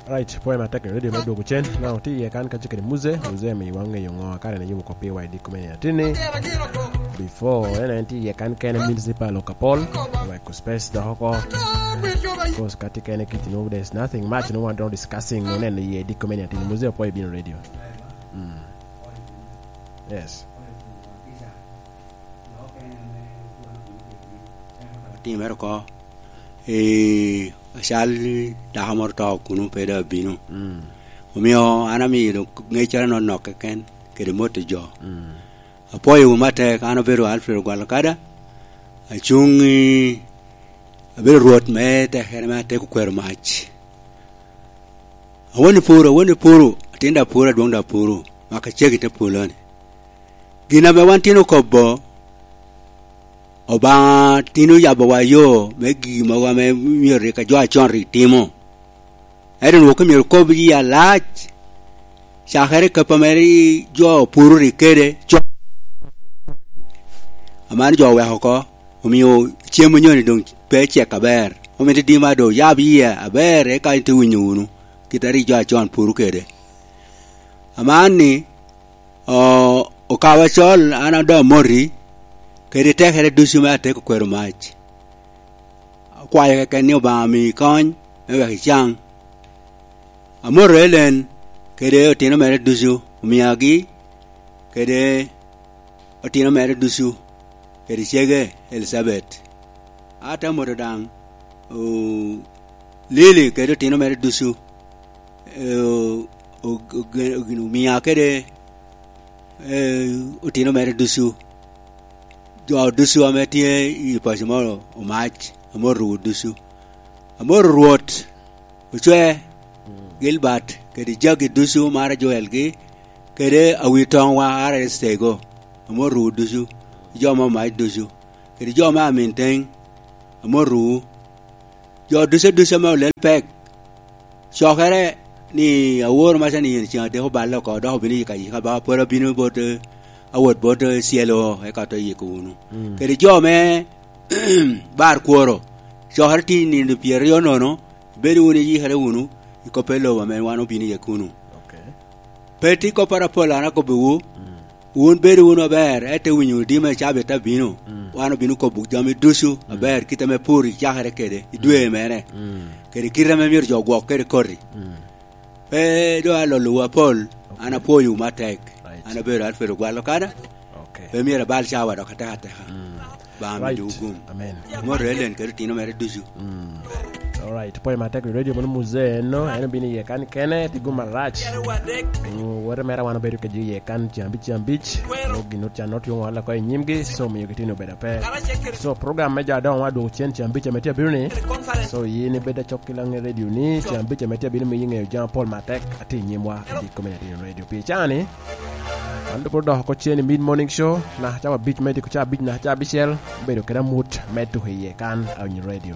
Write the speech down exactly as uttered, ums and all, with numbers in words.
Right, pwoyo matek i radio me dwogo cen. Na otye iye kan kacel kede Muze, Muze amiwa ŋeyo ŋo kare ni yubo kop piwa i diko me atinni. Before, en en tye iye kan kene Municipal Okapol, wek space dok oko. Because kati kene kiti no, there's nothing much no one don't discussing no nen iye diko me atinni. Muze opwoyo bino radio. Mm. Yes. Otimere oko. Ee, acal dako moro to kuno pe dok abino. Mm. Omio an amiyo doŋ ŋeccere nonok keken kede mot i jo. Mm. Apwoyowu matek, an obedo Alfred Ogwal Okada, acuŋ i, abedo Rwot me tekere me Ateko Kwero Mac. Awon i puro, awon i puro, atin dok puro, adwoŋ dok puro, maka cegi te polo-ni. Gin ame wan tin okobo, Obaŋa tin oyabowa yo me gigi mogo ame myero rik a jo acon rik timo. Ento onwoŋo ka myero okob yi alac, cakere kap ame ri-, jo puro rik kede, co-, aman jo oweko oko, omio cem onyoni doŋ pe cek aber. Omito dima doŋ oyab yie aber, eka ite winyo wunu, kit a rik jo acon puro kede. Aman ni, O, okawa col, an a doŋ amoti, kede tekere ducu me Ateko Kwero Mac. Akwayo keken ni Obaŋa mi kony, me wek icaŋ. Amoto Elen, kede otino mere ducu, omiagi, kede otino mere ducu, kede cege Elicabet. Ate amoto daŋ, o, Lili kede otino mere ducu, eh, o-, o-, ogin-, ogin-, omia kede, eh, otino mere ducu. Jo ducu ame tye i paco moro Omac, amotowu ducu. Amoto Rwot Ocwe, Gilbert, kede jagi ducu mara Joel-gi, kede awi toŋwa Ara Estego, amotowu ducu, jo me Omac ducu, kede jo me Aminteng, amotowu. Jo ducu ducu ame olel pek, cokere ni aworo maca ni yen ceŋ adek oballe oko, dok obino yika yika ba, pwod abino bot, eh, awot bot, eh, cielo, eka to yiko wunu. Mm. Kede jo me bar kworo, cokere tye i nino pyeraryo nono, bedo wunu iyikere wunu i kop pe lobo ame wan obino iye kuno. Ok. Pe tye kopporo apol an akobbiwu, mm, wun bedo wunu aber, ete winyo wunu dima i cabit abino, mm, wan obino kobo jami ducu, mm, aber, kit ame pur icakere kede i dwe, mm, mere, mm, kede kit ame myero jo ogwok kede koti. Mm. Pe doŋ alolowu apol, ok, an apwoyowu matek. Right. An abedo Alfred Ogwal Okada. Ok. Pe myero abal cawa dok ateka ateka. Mm. Obaŋa, right, midowu gum. Amen. Amoto Elen kede otino mere ducu. Mm. Alright, pwoyo matek i radio mano Muze eno, en obino iye kan kene, tye gum arac. Mm, wote mere wan obedo kede iye kan cen abic, cen abic. Mo gin ot can ot yoŋo oko i nyimgi, so miyo gitino obedo ape. So program me jo adoŋo wan adwogo cen cen abic ame tye abino ni. So yin ibed acok ki laŋ radio ni, cen abic ame tye abino miyo iŋeyo jami apol matek atye i nyimwa i community radio. Pi cani, An doŋ pwod odoko oko cen i mid morning show, naka cawa abic me diko cawa abic, naka cawa abicel, obedo kede amut me tuko iye kan, Awinyo Radio.